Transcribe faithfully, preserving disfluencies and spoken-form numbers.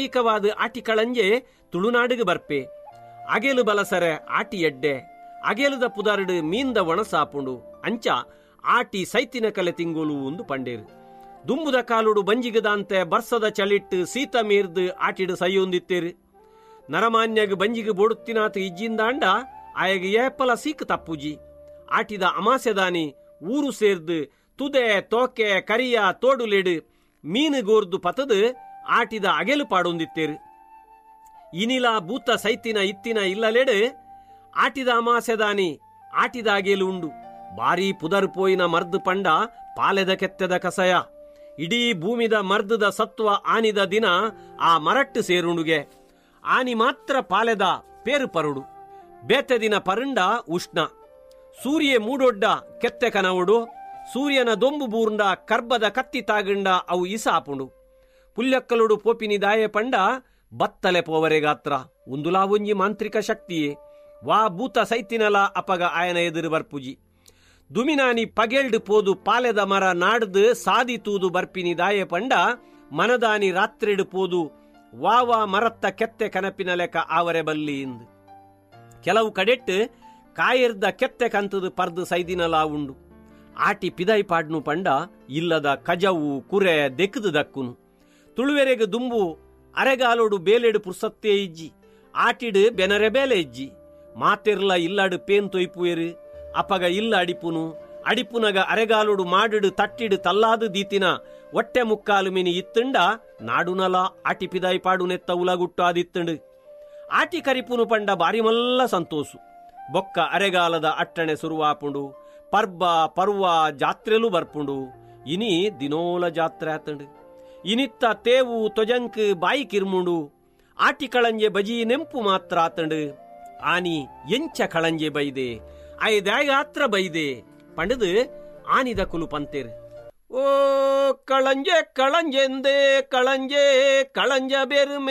ಸಾಂಸ್ಕೃತಿಕವಾದ ಆಟಿ ಕಳಂಜೆ ತುಳುನಾಡಿಗೆ ಬರ್ಪೆ. ಅಗೆಲು ಬಲಸರೆ ಆಟಿ ಎಡ್ಡೆ, ಅಗೆಲುದ ಪುದಾರುಡು ಮೀನ್ದ ಒಣಸಾಪುಂಡು. ಅಂಚ ಆಟಿ ಸೈತಿನ ಕಲೆ ತಿಂಗೋಲು ಒಂದು ಪಂಡೇರು. ದುಂಬುದ ಕಾಲುಡು ಬಂಜಿಗದಾಂತೆ ಬರ್ಸದ ಚಳಿಟ್ಟು ಸೀತ ಮೀರ್ದು ಆಟಿಡು ಸೈಯೊಂದಿತ್ತೇರು. ನರಮಾನ್ಯಗ್ ಬಂಜಿಗೆ ಬೋಡುತ್ತಿನಾತು ಇಜ್ಜಿಂದಾಂಡ ಆಯಗ ಏಪಲ ಸೀಕ್ ತಪ್ಪುಜಿ. ಆಟಿದ ಅಮಾಸೆದಾನಿ ಊರು ಸೇರ್ದು ತುದೆ ತೋಕೆ ಕರಿಯ ತೋಡುಲೆಡು ಮೀನು ಗೋರ್ದು ಪತದು ಆಟಿದ ಅಗೆಲು ಪಾಡೊಂದಿತ್ತೇರು. ಇನಿಲ ಭೂತ ಸೈತಿನ ಇತ್ತಿನ ಇಲ್ಲಲೆಡು ಆಟಿದ ಅಮಾಸೆದಾನಿ ಆಟಿದ ಅಗೆಲು ಉಂಡು. ಬಾರಿ ಪುದರ್ ಪೋಯಿನ ಮರ್ದು ಪಂಡ ಪಾಲೆದ ಕೆತ್ತೆದ ಕಸಯ. ಇಡೀ ಭೂಮಿದ ಮರ್ದದ ಸತ್ವ ಆನಿದ ದಿನ ಆ ಮರಟ್ಟು ಸೇರುಂಡುಗೆ. ಆನಿ ಮಾತ್ರ ಪಾಲೆದ ಪೇರು ಪರುಡು. ಬೇತೆ ದಿನ ಪರುಂಡ ಉಷ್ಣ. ಸೂರ್ಯ ಮೂಡೊಡ್ಡ ಕೆತ್ತೆ ಕನವುಡು. ಸೂರ್ಯನ ದೊಂಬು ಬೂರ್ಂಡ ಕರ್ಬದ ಕತ್ತಿ ತಾಗಂಡ ಅವು ಇಸಾಪುಂಡು. ಪುಲ್ಯಕ್ಕಲುಡು ಪೋಪಿನಿ ದಾಯೆ ಪಂಡ ಬತ್ತಲೆ ಪೋವರೆ ಗಾತ್ರ. ಉಂದುಲಾ ಒಂಜಿ ಮಾಂತ್ರಿಕ ಶಕ್ತಿಯೇ. ವಾ ಭೂತ ಸೈತಿನಲ ಅಪಗ ಆಯನ ಎದುರು ಬರ್ಪುಜಿ. ದುಮಿನಾನಿ ಪಗೆಲ್ಡು ಪೋದು ಪಾಲೆದ ಮರ ನಾಡ್ದು ಸಾದಿ ತೂದು ಬರ್ಪಿನಿ ದಾಯೆ ಪಂಡ ಮನದಾನಿ ರಾತ್ರಿಡು ಪೋದು ವಾವಾ ಮರತ್ತ ಕೆತ್ತೆ ಕನಪಿನ ಲೆಕ್ಕ ಆವರೆ ಬಲ್ಲಿ ಇಂದು. ಕೆಲವು ಕಡೆಟ್ಟು ಕಾಯಿರ್ದ ಕೆತ್ತೆ ಕಂತದು ಪರ್ದು ಸೈದಿನಲಾ ಉಂಡು. ಆಟಿ ಪಿದೈ ಪಾಡ್ನು ಪಂಡ ಇಲ್ಲದ ಕಜವು ಕುರೆ ದೆಕ್ಕದು ದಕ್ಕುನು. ತುಳುವೆರೆಗೆ ದುಂಬು ಅರೆಗಾಲೋಡು ಬೇಲೆಡು ಪುರ್ಸತ್ತೇ ಇಜ್ಜಿ. ಆಟಿಡು ಬೆನರೆ ಬೇಲೆ ಇಜ್ಜಿ. ಮಾತೆರ್ಲ ಇಲ್ಲಾಡು ಪೇನ್ ತೊಯ್ಪುವೆರು. ಅಪಗ ಇಲ್ಲ ಅಡಿಪುನು. ಅಡಿಪುನಗ ಅರೆಗಾಲೋಡು ಮಾಡಿಡು ತಟ್ಟಿಡು ತಲ್ಲಾದು ದೀತಿನ ಒಟ್ಟೆ ಮುಕ್ಕಾಲು ಮಿನಿ ಇತ್ತುಂಡ ನಾಡುನಲ ಆಟಿ ಪಿದಾಯಿ ಪಾಡುನೆತ್ತ ಉಲಗುಟ್ಟು ಆದಿತ್ತುಂಡು. ಆಟಿ ಕರಿಪುನು ಪಂಡ ಬಾರಿ ಮಲ್ಲ ಸಂತೋಸು. ಬೊಕ್ಕ ಅರೆಗಾಲದ ಅಟ್ಟಣೆ ಸುರುವಾಪುಂಡು. ಪರ್ಬ ಪರ್ವ ಜಾತ್ರೆಲು ಬರ್ಪುಂಡು. ಇನಿ ದಿನೋಲ ಜಾತ್ರೆ ಆತಂಡು. ಇನಿತ್ತ ತೇವು ತೊಜಂಕ್ ಬಾಯಿ ಕಿರ್ಮುಂಡು. ಆಟಿ ಕಳಂಜೆ ಬಜಿ ನೆಂಪು ಮಾತ್ರ ಆತಂಡು. ಆನಿ ಎಂಚ ಕಳಂಜೆ ಬೈದೆ, ಐದಾಗಾತ್ರ ಬೈದೆ ಪಂಡದು ಆನಿದ ಕುಲು ಪಂತೇರು. ಓ ಕಳಂಜೆ ಕಳಂಜೆಂದೇ ಕಳಂಜೆ ಕಳಂಜ ಬೆರುಮೆ.